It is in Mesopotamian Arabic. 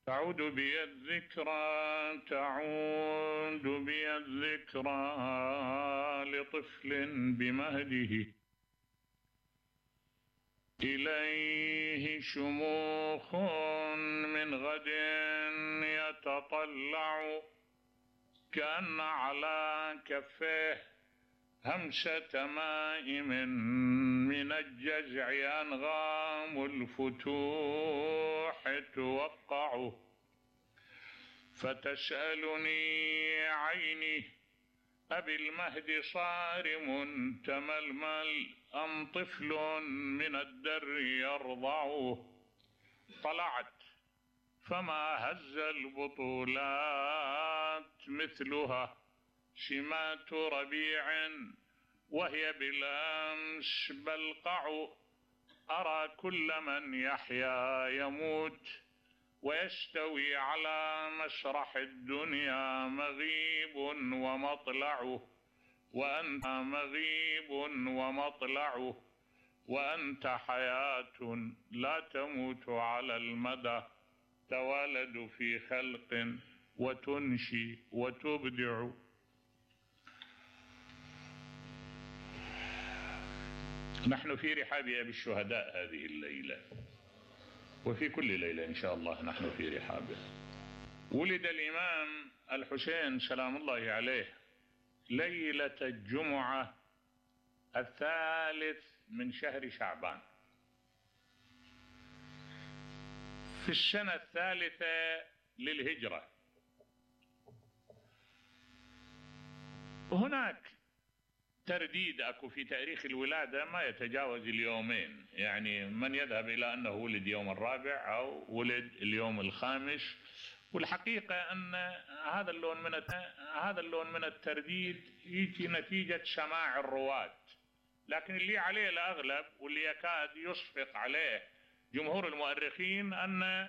تعود بي الذكرى لطفل بمهده، إليه شموخ من غد يتطلع، كأن على كفيه همسة ماء من الجزع، أنغام الفتوح توقع. فتسألني عيني أبي المهد صارم تململ، أم طفل من الدر يرضع؟ طلعت فما هز البطولات مثلها، سمات ربيع وهي بالأمس بلقع. أرى كل من يحيا يموت، ويستوي على مسرح الدنيا مغيب ومطلعه، وأنت مغيب ومطلعه، وأنت حياة لا تموت على المدى، توالد في خلق وتنشي وتبدع. نحن في رحاب أبي الشهداء هذه الليلة، وفي كل ليلة إن شاء الله نحن في رحابه. ولد الإمام الحسين سلام الله عليه ليلة الجمعة 3 من شهر شعبان في السنة 3 للهجرة. هناك ترديد أكو في تاريخ الولادة ما يتجاوز اليومين، يعني من يذهب إلى أنه ولد يوم 4 أو ولد اليوم 5، والحقيقة أن هذا اللون من الترديد يجي نتيجة سماع الرواة، لكن اللي عليه الأغلب واللي يكاد يصفق عليه جمهور المؤرخين أن